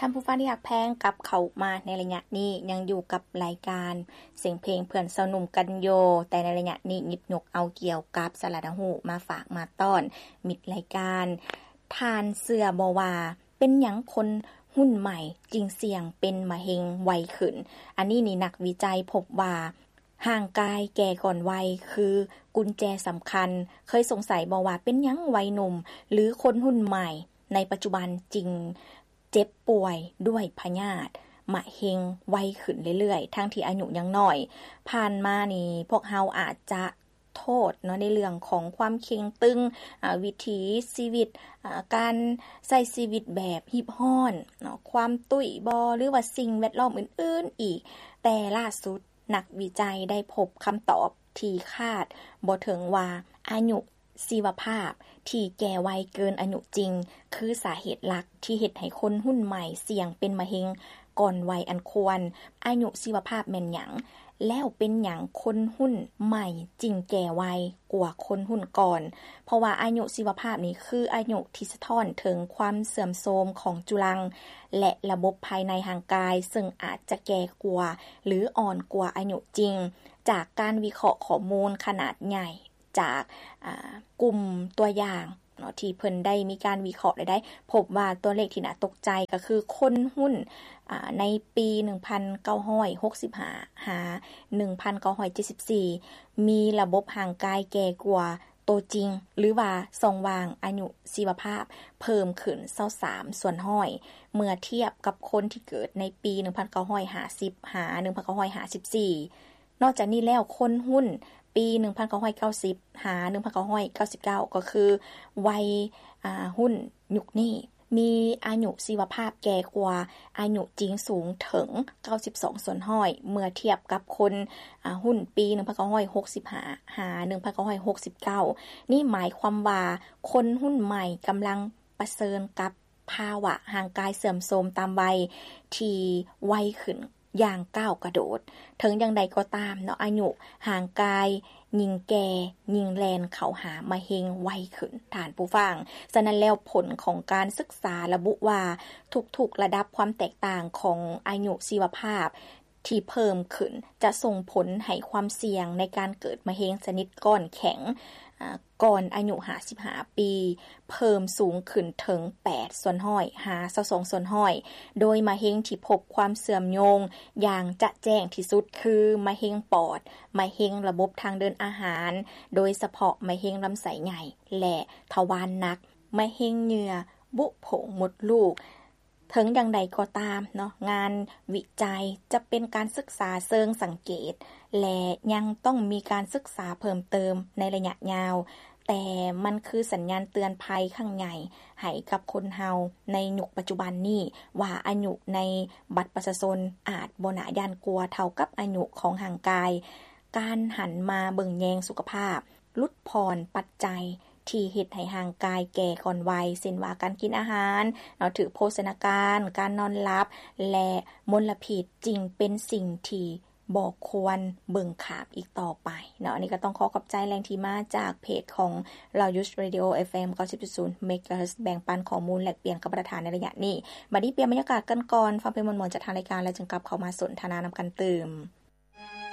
ທ່ານຜູ້ຟັງທີ່ຮັກແພງ, ກັບເຂົ້າມາໃນໄລຍະນີ້ ຍັງຢູ່ກັບລາຍການສຽງເພງເພື່ອນຊາວໜຸ່ມກັນຢູ່, ແຕ່ໃນໄລຍະນີ້ຫຍິບຍົກເອົາກ່ຽວກັບສາລະໜ້າຮູ້ມາຝາກມາຕ້ອນມິດລາຍການ. ທ່ານເຊື່ອບໍ່ວ່າ ເປັນຫຍັງຄົນຮຸ່ນໃໝ່ຈຶ່ງສ່ຽງເປັນມະເຮັງໄວຂຶ້ນ? ອັນນີ້ນີ້ ນັກວິໄຈພົບວ່າ ຮ່າງກາຍແກ່ກ່ອນໄວຄືກຸນແຈສຳຄັນ. ເຄີຍສົງໄສບໍ່ວ່າເປັນຫຍັງໄວໜຸ່ມ ຫຼື ຄົນຮຸ່ນໃໝ່ໃນປັດຈຸບັນຈຶ່ງເຈັບປ່ວຍດ້ວຍພະຍາດມະເຮັງໄວຂຶ້ນເລື້ອຍໆ ທັງທີ່ອາຍຸຍັງນ້ອຍ? ຜ່ານມານີ້ ພວກເຮົາອາດຈະໂທດເນາະ ໃນເລື່ອງຂອງຄວາມເຄັ່ງຕຶງ, ອາ, ວິຖີຊີວິດ, ອາ, ການໃຊ້ຊີວິດແບບຮີບຮ້ອນເນາະ, ຄວາມຕຸ້ຍບໍ່ ຫຼືວ່າສິ່ງແວດລ້ອມອື່ນໆອີກ. ແຕ່ລ່າສຸດ ນັກວິໄຈໄດ້ພົບຄຳຕອບທີ່ຄາດບໍ່ເຖິງວ່າ ອາຍຸຊີວະພາບທີ່ແກ່ໄວເກີນອາຍຸຈິງ ຄືສາເຫດຫຼັກທີ່ເຮັດໃຫ້ຄົນຮຸ່ນໃໝ່ສ່ຽງເປັນມະເຮັງກ່ອນໄວອັນຄວນ. ອາຍຸຊີວະພາບແມ່ນຫຍັງ? ແລ້ວເປັນຫຍັງຄົນຮຸ່ນໃໝ່ຈຶ່ງແກ່ໄວກວ່າຄົນຮຸ່ນກ່ອນ? ເພາະວ່າອາຍຸຊີວະພາບນີ້ຄືອາຍຸທີ່ສະທ້ອນເຖິງຄວາມເສື່ອມໂຊມຂອງຈຸລັງ ແລະ ລະບົບພາຍໃນຮ່າງກາຍ, ເຊິ່ງອາດຈະແກ່ກວ່າ ຫຼື ອ່ອນກວ່າອາຍຸຈິງ. ຈາກການວິເຄາະຂໍ້ມູນຂະໜາດໃຫຍ່ຈາກ, ອາ, ກຸ່ມຕົວຢ່າງເນາະ ທີ່ເພິ່ນໄດ້ມີການວິເຄາະ ແລະ ໄດ້ພົບວ່າຕົວເລກທີ່ໜ້າຕົກໃຈກໍຄືຄົນຮຸ່ນ, ອາ, ໃນປີໜຶ່ງພັນເກົ້າຮ້ອຍຫົກສິບຫ້າ ຫາ ໜຶ່ງພັນເກົ້າຮ້ອຍເຈັດສິບສີ່ ມີລະບົບຮ່າງກາຍແກ່ກວ່າ ໂຕຈິງ ຫຼືວ່າຊ່ອງວ່າງອາຍຸຊີວະພາບເພີ່ມຂຶ້ນຊາວສາມສ່ວນຮ້ອຍ ເມື່ອທຽບກັບຄົນທີ່ເກີດໃນປີໜຶ່ງພັນເກົ້າຮ້ອຍຫ້າສິບ ຫາ ໜຶ່ງພັນເກົ້າຮ້ອຍຫ້າສິບສີ່. ນອກຈາກນີ້ແລ້ວ ຄົນຮຸ່ນປີໜຶ່ງພັນເກົ້າຮ້ອຍເກົ້າສິບ ຫາ ໜຶ່ງພັນເກົ້າຮ້ອຍເກົ້າສິບເກົ້າ ກໍຄືໄວ, ອາ, ຮຸ່ນຍຸກນີ້ ມີອາຍຸຊີວະພາບແກ່ກວ່າອາຍຸຈິງສູງເຖິງເກົ້າສິບສອງສ່ວນຮ້ອຍ ເມື່ອທຽບກັບຄົນ, ອາ, ຮຸ່ນປີໜຶ່ງພັນເກົ້າຮ້ອຍຫົກສິບຫ້າ ຫາ ໜຶ່ງພັນເກົ້າຮ້ອຍຫົກສິບເກົ້າ. ນີ້ໝາຍຄວາມວ່າຄົນຮຸ່ນໃໝ່ກຳລັງປະເຊີນກັບພາວະຮ່າງກາຍເສື່ອມໂຊມຕາມໄວທີ່ໄວຂຶ້ນ ຢ່າງກ້າວກະໂດດ. ເຖິງຢ່າງໃດກໍຕາມເນາະ, ອາຍຸຮ່າງກາຍຍິ່ງແກ່, ຍິ່ງແລ່ນເຂົ້າຫາມະເຮັງໄວຂຶ້ນ, ທ່ານຜູ້ຟັງ. ສະນັ້ນແລ້ວ, ຜົນຂອງການສຶກສາລະບຸວ່າ ທຸກໆລະດັບຄວາມແຕກຕ່າງຂອງອາຍຸຊີວະພາບທີ່ເພີ່ມຂຶ້ນ ຈະສົ່ງຜົນໃຫ້ຄວາມສ່ຽງໃນການເກີດມະເຮັງຊະນິດກ້ອນແຂງ, ອາ, ກ່ອນອາຍຸຫ້າສິບຫ້າປີ ເພີ່ມສູງຂຶ້ນເຖິງແປດສ່ວນຮ້ອຍ ຫາ ຊາວສອງສ່ວນຮ້ອຍ, ໂດຍມະເຮັງທີ່ພົບຄວາມເຊື່ອມໂຍງຢ່າງຈະແຈ້ງທີ່ສຸດຄື ມະເຮັງປອດ, ມະເຮັງລະບົບທາງເດີນອາຫານ, ໂດຍສະເພາະມະເຮັງລຳໄສ້ໃຫຍ່ ແລະ ທະວານໜັກ, ມະເຮັງເຫຍື່ອບຸໂພງມົດລູກ. ເຖິງຢ່າງໃດກໍຕາມເນາະ, ງານວິໄຈຈະເປັນການສຶກສາເຊີງສັງເກດ ແລະ ຍັງຕ້ອງມີການສຶກສາເພີ່ມເຕີມໃນໄລຍະຍາວ, ແຕ່ມັນຄືສັນຍານເຕືອນໄພຄັ້ງໃຫຍ່ໃຫ້ກັບຄົນເຮົາໃນຍຸກປັດຈຸບັນນີ້ ວ່າອາຍຸໃນບັດປະຊາຊົນອາດບໍ່ໜ້າຢ້ານກົວເທົ່າກັບອາຍຸຂອງຮ່າງກາຍ. ການຫັນມາເບິ່ງແຍງສຸຂະພາບ, ຫຼຸດຜ່ອນປັດໄຈທີ່ເຮັດໃຫ້ຮ່າງກາຍແກ່ກ່ອນໄວ, ເຊັ່ນວ່າການກິນອາຫານເນາະ, ຖືກໂພຊະນາການ, ການນອນຫຼັບ ແລະ ມົນລະພິດ ຈຶ່ງເປັນສິ່ງທີ່ບໍ່ຄວນເບິ່ງຂ້າມອີກຕໍ່ໄປເນາະ. ອັນນີ້ກໍຕ້ອງຂໍຂອບໃຈແຫຼ່ງທີ່ມາຈາກເພຈຂອງ Loyush Radio ເອັຟເອັມ ເກົ້າສິບຈຸດສູນ Megahertz ແບ່ງປັນຂໍ້ມູນແລກປ່ຽນກັບບັນດາທ່ານໃນໄລຍະນີ້. ບັດນີ້ປ່ຽນບັນຍາກາດກັນກ່ອນ, ຟັງເພງມ່ວນໆຈາກທາງລາຍການ ແລ້ວຈຶ່ງກັບເຂົ້າມາສົນທະນານຳກັນຕື່ມ.